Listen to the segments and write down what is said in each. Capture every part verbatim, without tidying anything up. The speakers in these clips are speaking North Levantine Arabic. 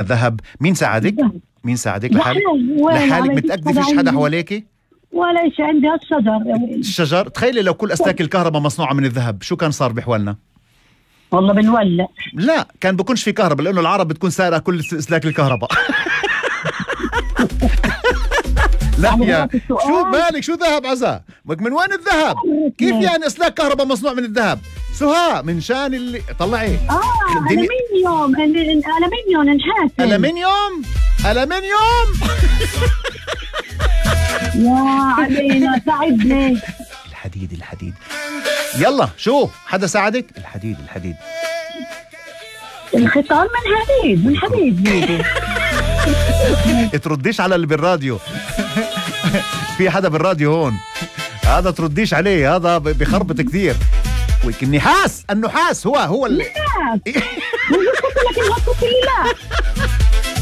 ذهب. مين ساعدك؟ مين ساعدك؟ لحالك؟ لحالك لحالك متأكدة فيش حدا حواليكي؟ ولا شيء، عندي هالشجر. الشجر. تخيلي لو كل أسلاك الكهرباء مصنوعة من الذهب، شو كان صار بحوالنا؟ والله بنولع. لا، كان بكونش في كهرباء، لأنه العرب بتكون سارقة كل أسلاك الكهرباء. لا يا شو بالك؟ شو ذهب عزا؟ من وين الذهب؟ كيف يعني أسلاك كهرباء مصنوع من الذهب؟ سهى من شان اللي طلعي. اه ألمنيوم. ألمنيوم نحاس. ألمنيوم ألمنيوم. يا علينا ساعدني. الحديد الحديد. يلا شو حدا ساعدك؟ الحديد الحديد. الختان من حديد من حديد بيدي. ترديش على اللي بالراديو. في حدا بالراديو هون، هذا ترديش عليه، هذا بخربط كثير. النحاس النحاس هو هو اللي لا.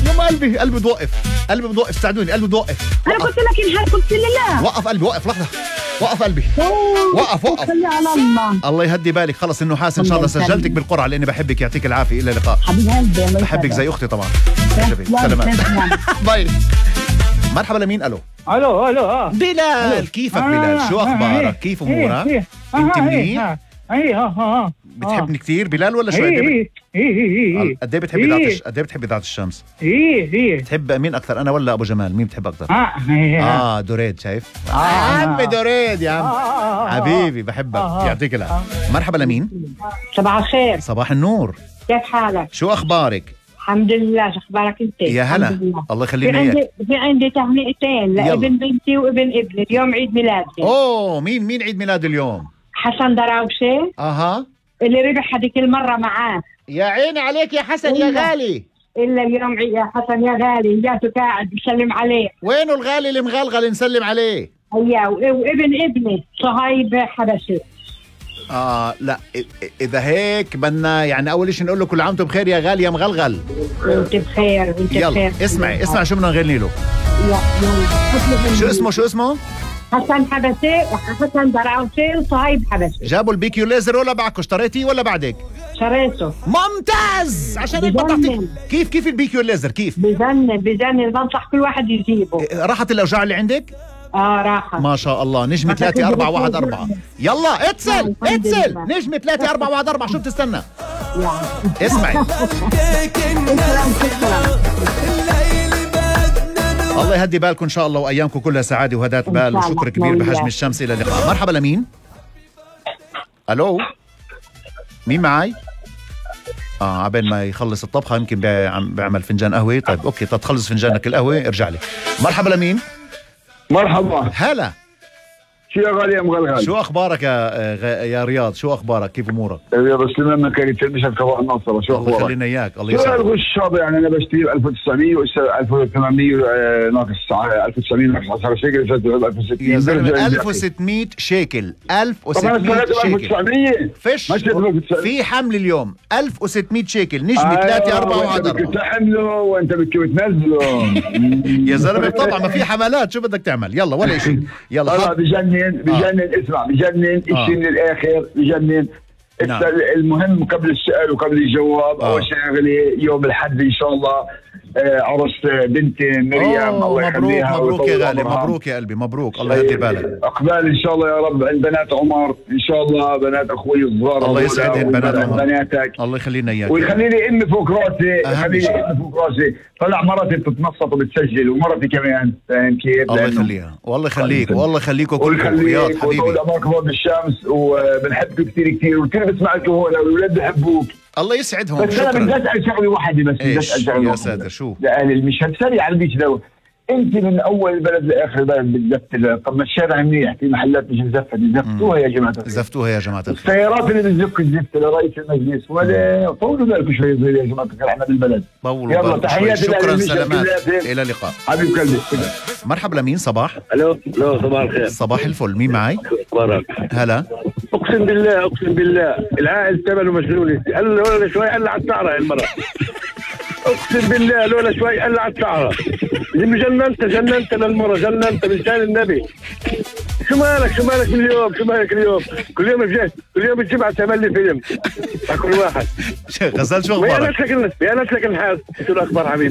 يوم قلبي قلبي بوقف، قلبي بوقف، ساعدوني، قلبي بوقف. انا قلت لك انحاس، قلت لي لا. وقف قلبي، وقف لحظة، وقف قلبي، وقف وقف. خلي على الله. الله يهدي بالك. خلص النحاس ان شاء الله سجلتك بالقرعة لاني بحبك. يعطيك العافية، الى اللقاء حبيب قلبي. بحبك زي اختي طبعا. سلامات. باي. مرحبا. لمين؟ الو الو الو اه بلال. كيفك بلال؟ شو اخبارك؟ كيف امورك؟ انت منيح؟ اي اه اه بتحبني كثير بلال ولا شوي؟ ايه ايه ايه قد ايه بتحب اذاعة قد ايه بتحب اذاعة الشمس؟ ايه ايه بتحب مين اكثر، انا ولا ابو جمال؟ مين بتحب اكثر؟ اه اه دوريد. شايف؟ عمي دوريد يا عم حبيبي بحبك. يعطيك العافية. مرحبا. لمين؟ صباح الخير. صباح النور. كيف حالك؟ شو اخبارك؟ الحمد لله. شو اخبارك انت؟ يا هلا. الله يخلينا اياك. اياك. في عندي تهنئتين لابن بنتي وابن ابني، اليوم عيد ميلادي. اوه مين مين عيد ميلاد اليوم؟ حسن دراوشة. اها اللي ربح هذيك المرة معاه. يا عيني عليك يا حسن يا غالي. إلا اليوم عيد يا حسن يا غالي، جاته قاعد بسلم عليه. وينه الغالي اللي مغلغل نسلم عليه؟ ايوه. وابن ابني صهيب حبشي. اه لا اذا هيك بدنا يعني اول شيء نقول له كل عام وانتم بخير يا غالي يا مغلغل. وانت بخير وانت بخير. يلا اسمعي اسمعي شو بدنا نغني له. يلا شو اسمه شو اسمه؟ حسن حبشي وحسن دراوشي وصهيب حبشي. جابوا البيكيو ليزر ولا بعكو؟ اشتريتيه ولا بعدك؟ شريته. ممتاز. عشان هيك بنصحك. كيف كيف البيكيو ليزر كيف؟ بجنن بجنن، بنصح كل واحد يجيبه. راحت الاوجاع اللي عندك؟ اه راحت ما شاء الله. نجمة ثلاثة أربعة واحد أربعة. يلا اتصل اتصل. نجمة ثلاثة أربعة واحد أربعة. شو بتستنى؟ اسمعي. الله يهدي بالكم ان شاء الله وايامكم كلها سعاده وهداة بال وشكر كبير بحجم الشمس. الى اللقاء. مرحبا. لمين؟ الو مين معي؟ اه عبين ما يخلص الطبخه يمكن بيعمل فنجان قهوه. طيب اوكي تتخلص فنجانك القهوه ارجع لي. مرحبا. لمين؟ مرحبا. هلا. شو يا غالي يا مغلغل؟ شو اخبارك يا غ... يا رياض؟ شو اخبارك؟ كيف امورك؟ يا بس لما كانت تلبس الكفاءة الناصرة. شو اخبارك؟ الله يخلينا اياك. الله يسعدك. يسعدك. شو الغش هذا يعني؟ انا بشتري ألف وتسعمية ألف وثمانمية ناقص ألف وتسعمية ناقص عشرة شيكل ألف وستمية. يا زلمه ألف وستمية شيكل. ألف وستمية شيكل. فيش في حمل اليوم ألف وستمية شيكل. نجمة ثلاثة أربعة واحد أربعة. بدك تحمله وانت بدك تنزله. يا زلمه طبعا ما في حملات. شو بدك تعمل؟ يلا ولا شيء. يلا والله بجنن بجنن. اسمع بجنن آه. اشي من الاخر بجنن. نعم. المهم قبل السؤال وقبل الجواب آه. اول شغله يوم الحد ان شاء الله آه عرس بنتي مريم. الله مبروك يخليها. مبروك يا غالي. مبروك يا قلبي. مبروك. الله يهدي بالك. اقبال ان شاء الله يا رب عند بنات عمر ان شاء الله، بنات اخوي الصغار. الله يسعدهم بنات عمر. بناتك. الله يخلينا اياك. ويخلي لي امي فوق راسي. يخلي لي امي فوق راسي. طلع مرتي بتتنصت وبتسجل ومرتي كمان. فاهم كيف؟ الله يخليها. والله يخليك والله يخليكم كلكم رياض حبيبي. وطول عمرك فوق الشمس وبنحبك كثير كثير وكثير بسمعك هون والاولاد بحبوك. الله يسعدهم. بس انا بدي اسال شغله واحده بس. بدي اسال شغله يا ساتر. شو؟ لاهل المشهد سريع على البيت لو انت من اول البلد لاخر البلد بتزفت. طب ما الشارع منيح في محلات مش مزفت. زفتوها يا جماعه الخير. زفتوها يا جماعه الخير. السيارات اللي بتزف الزفت لرئيس المجلس ولا طولوا بالكم شوي صغير يا جماعه الخير. احنا بالبلد. طولوا بالكم شوي. شكرا سلامات. الى اللقاء. حبيب قلبي. مرحبا. لمين؟ صباح. الو الو صباح الخير. صباح الفل. مين معي؟ اخبارك؟ هلا. اقسم بالله اقسم بالله العائل ثمنه مجنون. قال لولا شوي قال على السعره المره. اقسم بالله لولا شوي قال على السعره. جننت جننت للمره جننت بلسان النبي. شو مالك شو مالك من اليوم شو مالك اليوم كل يوم الجهد كل يوم الجمعة تعمل لي فيلم مع كل واحد. غزال شو ويا اخبارك؟ ناس لك ويا ناس لك الحال شو الاخبار حبيبي؟